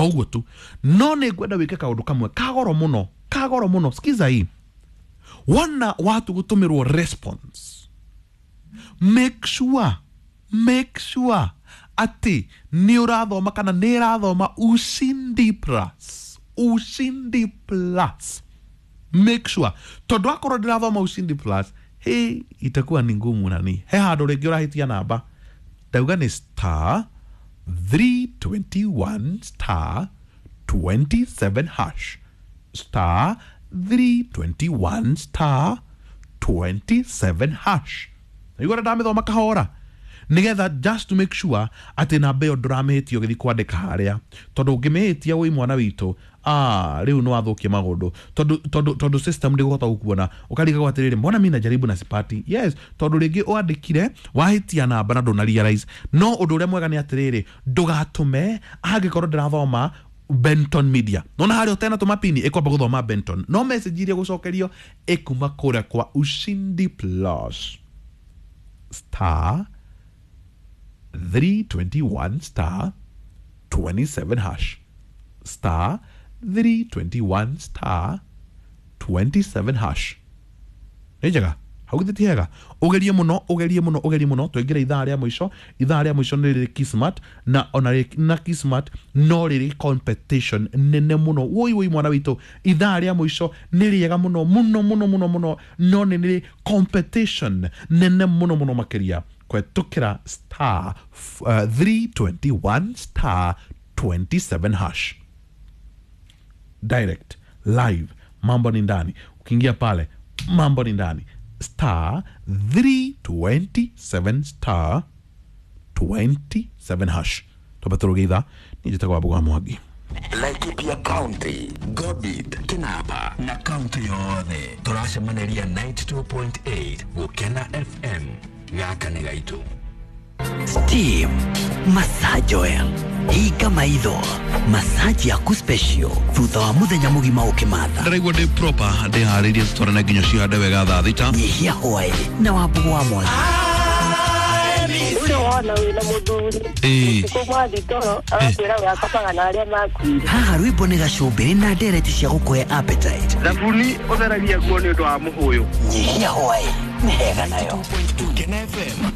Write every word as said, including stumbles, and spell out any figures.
Ũguo tu. No nĩ ngwenda wĩke kaũndũ kamwe kagoro mũno, kagoro mũno. Sikiza hii, wona watu gũtũmĩrwo response, make sure make sure atĩ nĩ ũrathoma kana nĩ ĩrathoma Ushindi Plus. Ushindi Plus, make sure, tondũ akorwo ndĩrathoma Ushindi Plus, hey, itakuwa ni ngumu. Nani he handũ rĩngĩ ũrahĩtia namba. Ndauga nĩ star three twenty-one star twenty-seven hash, star three twenty-one star twenty-seven hash. Igora ndamĩthoma kahora nigetha just to make sure atĩ namba ĩyo ndũramĩhĩtia ũgĩthiĩ kwandĩka harĩa, tondũ ũngĩmĩhĩtia wĩ mwana witũ, ah, rĩu nĩ wathũkia maũndũ, tondũ tondũ tondũ system ndĩgũhota gũkuona, ũkarigagwo atĩrĩrĩ, mbona mi najaribu na sipati? Yes, tondũ rĩngĩ wandĩkire wahĩtia namba na ndũna realize. No ũndũ ũrĩa mwega nĩ atĩrĩrĩ, ndũgatũme angĩkorwo ndĩrathoma Benton Media. Nona harĩa ũtena tũma pini ĩkwamba gũthoma Benton, no message iria gũcokerio ĩkuma kũrĩa kwa Ushindi Plus, star three twenty-one star twenty-seven hash, star three twenty-one star twenty-seven hash. Nĩ njega hau, githĩ ti hega? Ũgerie mũno, ũgerie mũno, ũgerie mũno. Twaingĩra ithaa rĩa mũico. Ithaa rĩa mũico nĩ rĩrĩ Kismat, na ona rĩ- na Kismat no rĩrĩ competition nene mũno. Woi woi, mwana witũ, ithaa rĩa mũico nĩ rĩega mũno mũno mũno mũno mũno, no nĩ rĩrĩ competition nene mũno mũno makĩria kwetukĩra star uh, three twenty-one star twenty-seven hash. Direct live, mambo ni ndani. Ukiingia pale, mambo ni ndani, star three twenty-seven star twenty-seven hash. Twamba tũrũge ithaa. Niĩ njĩtagwo Wambũgũ wa Mwangi. Laikipia County, Gobit, Kinapa na kaunti yothe tũracemaniria ninety-two point eight Gũkena F M. Gaka nĩ gaitũ. Steam Massage Oil, hinga maitho, massage yaku special thutha wa muthenya mugima ukimatha. Ndĩraigua ndĩ proper, ndĩharĩirie tũtwarane nginya cihande wega thaa thita. Nyihia hwaĩ na Wambũgũ wa Mwangi. Ũrĩa wona wĩna mũthuri Ĩĩ. ũtukũ mwathi toro agakwĩra we akomaga na arĩa makuire. Haha rwĩmbo nĩ gacũmbĩrĩ na ndereti cia gũkũhe appetite. Thabuni ũtheragia nguo nĩ ũndũ wa mũhũyũ. Nyihia hwaĩ nĩ hega nayo. Gũkena F M.